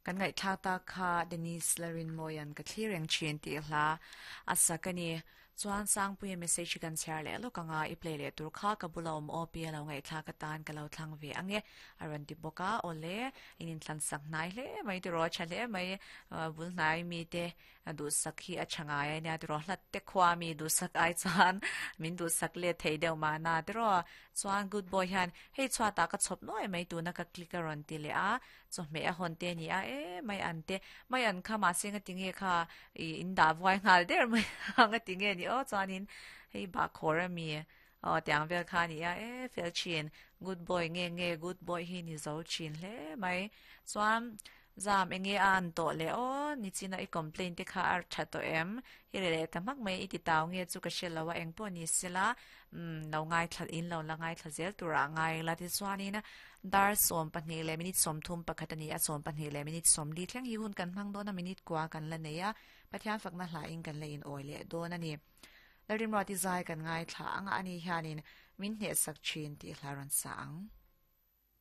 Kan ngaihthlak tak kha Denise Larinmawia'n ka thlir reng thin tih hla a sak a ni. Chuan Sangpuia message hi kan chhiar leh lawk anga i play leh tur kha ka bula awm aw pi a lo ngaihthlak atan ka lo thlang ve ang e a rawn ti bawk a. Awle, in inthlan sak hnai hle mai tiraw a tha hle mai bul hnai mite duhsak hi a tha ngai a nia tiraw hlat te khua mi duhsak ai chuan min duhsak let thei deuh mahna tiraw. Chuan good boy hian hei chhuatah ka chhawp nuai mai tuna ka click a rawn ti leh a. Chawhmeh a hawn te a ni a, e mai an te, mai an kha mahse nga ti nge kha i in dah vuai nghal der mai a nga ti nge ni aw chuanin hei bahkhawr a mi aw tiang vel kha a ni a, e fel thin good boy nge nge good boy hi ni zo thin hle mai chuan zam enge a an tawh leh aw nichina i complain te kha a tha tawh em i re leh ta hmak mai i ti tau nge chu ka hre lo a engpawh ni sela umm lo ngaithla in lo la ngaithla zel turah a ngai la tichuanin Dar 12 leh minute 31 a ni a, 12 leh minute 40 thleng hi hun kan hmang dawn a, minute kua kan la nei a, Pathian fakna hlain kan la inawi leh dawn a ni. Lalrimruati zai kan ngaithla ang a, ani hianin min hnehsak thin tih hla rawn sa ang.